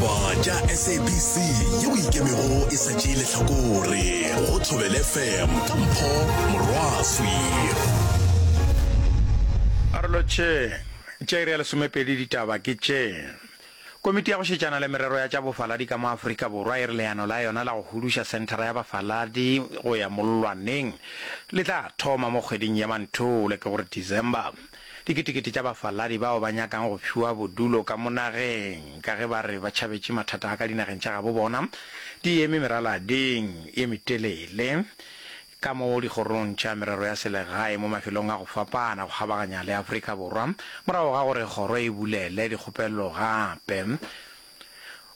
Ditaba tša SABC yeo ikemego e sa tšee lehlakore go Thobela FM ka Mpho Morwaswi. Karolo tše tša iri ya lesomepedi ditaba ke tše. Komiti ya go šetšana le merero ya tša bofaladi ka mo Afrika Borwa e re leano la yona la go huduša senthara ya bafaladi go ya mollwaneng le tla thoma mo kgweding ya Manthole, ke gore December. Diketekete tša bafaladi bao ba nyakang go fiwa bodulo ka mo nageng ka ge ba re ba tšhabetše mathata a ka dinageng tša gabo bona di eme meralading ye metelele ka mo dikgorong tša merero ya selegae mo mafelong a go fapana go kgabaganya le Afrika Borwa morago ga gore kgoro e bulele dikgopelo gape.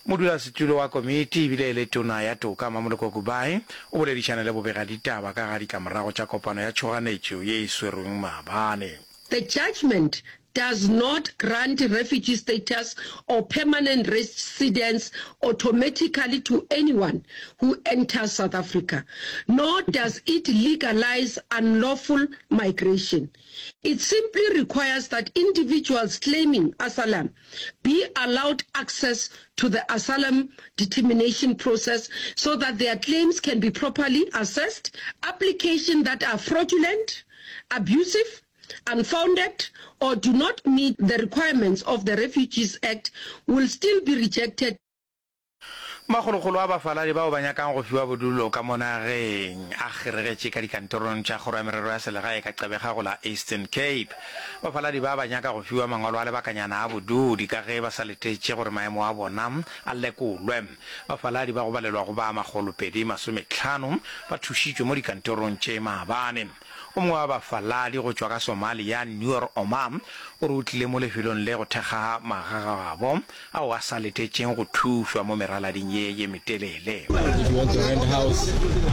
Modulasetulo wa komiti ebile e le tona ya toka Mamoloko Kubayi o boledišane le bobegaditaba ka ga ditlamorago tša kopano ya tšhoganetšo ye e swerweng maabane. The judgment does not grant refugee status or permanent residence automatically to anyone who enters South Africa, nor does it legalize unlawful migration. It simply requires that individuals claiming asylum be allowed access to the asylum determination process so that their claims can be properly assessed. Applications that are fraudulent, abusive, unfounded or do not meet the requirements of the Refugees Act will still be rejected. Makgolokgolo a bafaladi bao ba nyakang go fiwa bodulo ka mo nageng a kgeregetše ka dikantorong tša Kgoro ya Merero ya Selegae ka Gqeberha go la Eastern Cape. Bafaladi ba ba nyaka go fiwa mangwalo a lebakanyana a bodudi ka ge ba sa letetše gore maemo a bona a lekolwe. Bafaladi ba go balelwa go ba 250 ba thušitšwe mo dikantorong tše maabane. O mongwe wa bafaladi go tšwa ka Somalia, Noor Omar, o re o tlile mo lefelong le go thekga magagabo ao a sa letetšeng go thušwa mo meralading ye ye metelele. If you want to rent a house,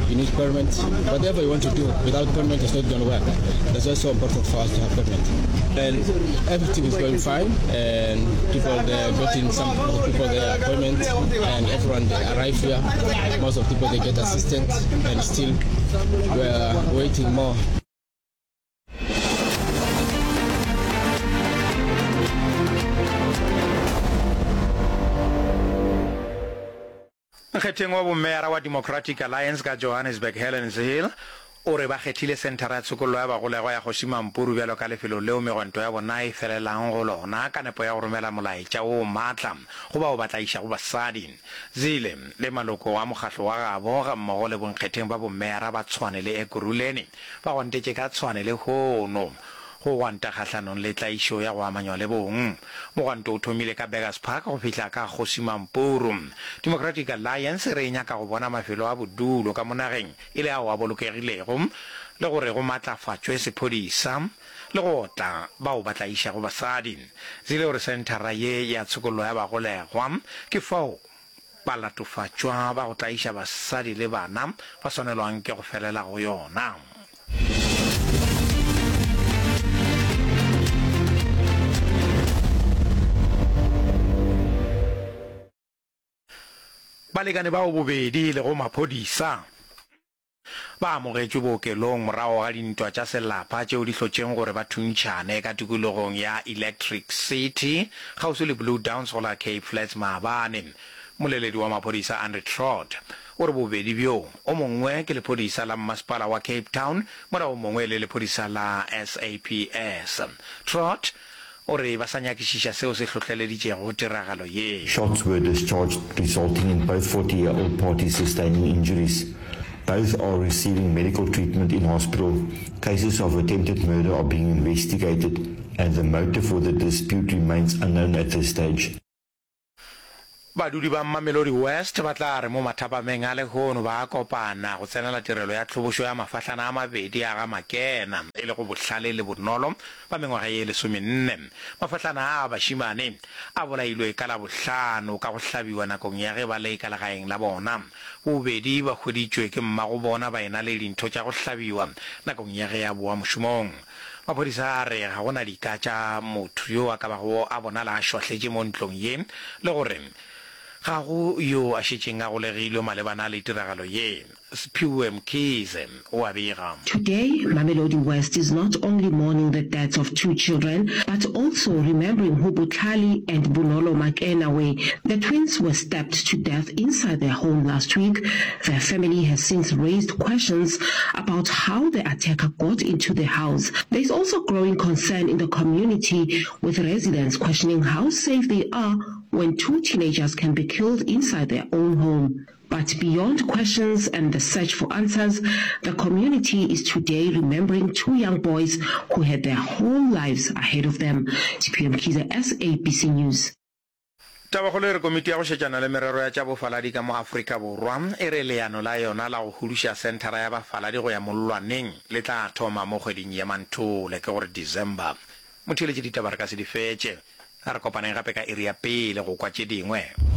you need permit. Whatever you want to do, without permit it's not gonna work. That's why it's so important for us to have permit. And everything is going fine, and people they getting some people their appointment, and everyone they arrive here. Most of people they get assistance, and still we are waiting more. Nkgetheng wa bomeyara wa Democratic Alliance ka Johannesburg Helen Zille o re ba kgethile senthara ya tshokollo ya bagolegwa ya Kgoši Mampuru bjalo ka lefelo leo megwanto ya bona e felelang go lona ka nepo ya go romela molaetša wo maatla go bao ba tlaišago basadi. Zille le maloko a mokgahlo wa gabo gammogo le bonkgetheng ba bomeyara ba Tshwane le Ekurhuleni ba gwantetše ka Tshwane lehono go gwanta kgahlanong le tlaišo ya go amanywa le bong. Mogwanto o thomile ka Burgers Park go fihla ka Kgosi Mampuru. Democratic Alliance e re e nyaka go bona mafelo a bodulo ka mo nageng e le ao a bolokegilego le gore go matlafatšwe sephodisa le go otla bao ba tlaišago basadi. Zille o re senthara ye ya tshokollo ya bagolegwa ke fao balatofatšwa ba go tlaiša basadi le bana ba swanelwang ke go felela go yona. Balekane bao bobedi e lego maphodisa ba amogetšwe bookelong morago ga dintwa tša selapa tšeo di hlotšeng gore ba thuntšhane ka tikologong ya Electric City kgauswi le Blue Downs go la Cape Flats maabane. Moleledi wa maphodisa Andre Trott o re bobedi bjo, o mongwe ke lephodisa la mmasepala wa Cape Town mola o mongwe e le lephodisa la SAPS. Trott O re ba sa nyakišiša seo se hlohleleditšego tiragalo ye. Shots were discharged resulting in both 40 year old parties sustaining injuries. Both are receiving medical treatment in hospital. Cases of attempted murder are being investigated and the motive for the dispute remains unknown at this stage. Badudi ba Mamelodi West ba tla re mo mathapameng a lehono ba kopana go tsenela tirelo ya tlhobošo ya mafahlana a mabedi a ga Makena, e lego Bohlale le Bonolo ba mengwaga ye lesomenne. Mafahlana a a bašemane a bolailwe ka Labohlano ka go hlabiwa nakong ya ge ba le ka legaeng la bona. Bobedi ba hweditšwe ke mmagobona ba ena le dintho tša go hlabiwa nakong ya ge a boa mošomong. Maphodisa a re ga go na dika tša motho yo a ka bago a bonala a šwahletše mo ntlong ye le gore Ga go yo a šetšeng a golegilwe malebana le tiragalo ye. Siphiwe Mkhize o a bega. Today, Mamelodi West is not only mourning the deaths of two children, but also remembering who Botlhale and Bonolo Makena were. The twins were stabbed to death inside their home last week. Their family has since raised questions about how the attacker got into the house. There is also growing concern in the community, with residents questioning how safe they are when two teenagers can be killed inside their own home. But beyond questions and the search for answers, the community is today remembering two young boys who had their whole lives ahead of them. Siphiwe Mkhize, SABC News. Tabakgolo e re Komiti ya go šetšana le merero ya tša bofaladi ka mo Afrika Borwa e re leano la yona la go huduša senthara ya bafaladi go ya mollwaneng le tla thoma mo kgweding ya Manthole, ke gore December. Motheeletši ditaba re ka se di fetše. A re kopaneng gape ka iri ya pele go kwa tše dingwe.